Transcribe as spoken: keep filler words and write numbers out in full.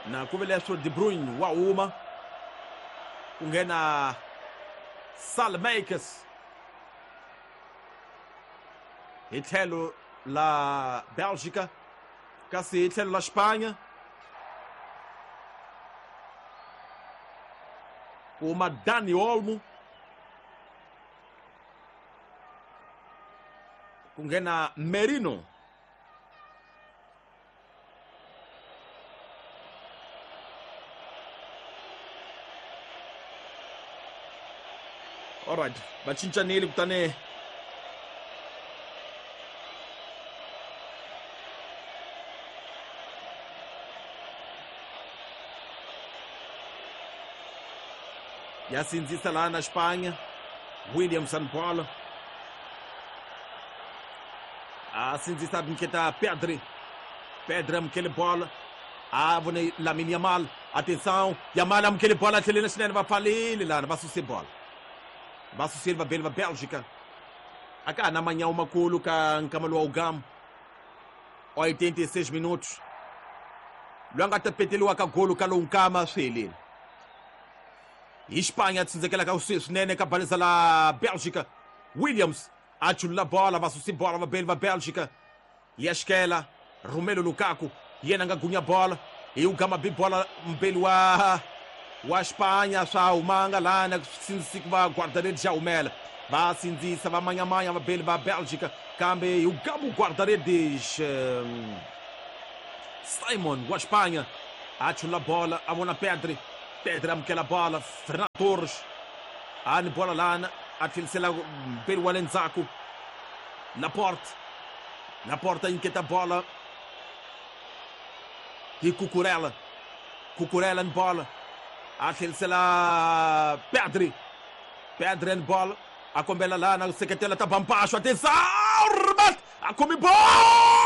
Na ku ve leswo De Bruyne wa huma ku nghena Salmakers hi tlhelo la Bélgica, kasi hi tlhelo la Espanha ku huma Dani Olmo, ku nghena Merino. Alright, va cincanile kutani ya sindzisa laha na Espanha. Williamson bola a sindzisa nyiketa Pedri. Pedri amukele bola, a vone Lamine Yamal. Atenção, Yamal amukele bola tlheleni swinene, va pfalile lana, va suse bola, va susile vabeli va Bélgica. A ka ha na manyawu makulu ka nkama lowa ugamu oitenta e seis minutos. Loyi a nga ta peteliwa ka golo ka lowu nkama swi helile. Hi Espanha tsindzekela ka swinene ka baleza la Bélgica. Williams a chulula bola, va susi bola vabeli va Bélgica. Ya xikela Romelu Lukaku, yena nga gunya bola, hi ugama bi bola mbeli wa wa Espanha swa humanga lana sindzisi va guarda-redes ya humela. Va sindzisa va manyamanya vabeli va Bélgica, kambe hi ugama guarda-redes um, Simon wa Espanha a chulula bola, a vona Pedri. Pedri amukela bola, Fernando Torres a ni bola lana, a tlhelisela mbeli wa le ndzhaku Laporte. Laporte a nyiketa bola hi Cucurella. Cucurella ni bola a tlhelisela Pedri. Pedri ni bola a kombela lana seketela ta Bampaxo. Atenção, remate, a come bola.